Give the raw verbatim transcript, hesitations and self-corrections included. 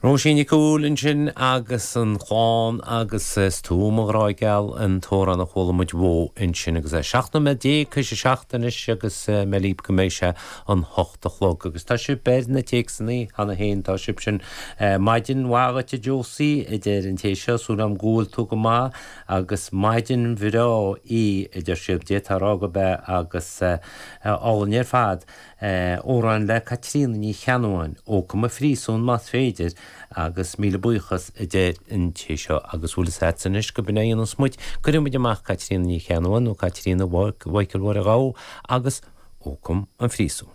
Róisín Nic Cumhaill ansin agus an chlann agus is tú mo ghrá geal an t-amhrán a chuala muid uaithi ansin agus é seacht nóiméad déag théis a seacht anois agus mé ag go mbeidh sé an hocht a chlog agus tá sibh ar na téacsanna cheana féin tá sibh sin maidin mhaith a Josie a deir an té seo súil agam go bhfuil tú go maith agus maidin bhreá í a deir siad dé tá rá go be agus álainn ar fad. Amhrán le Caitríona Ní Cheannabháin Ócam an Phríosúin más féidir agus míle buíochas a deir an té seo agus bhfuil sa anois go bna an smuid cuirimid amach Caitríona Ní Cheannabháin nó Caitríona Mhichael Mháire Ghabha agus Ócam an Phríosúin.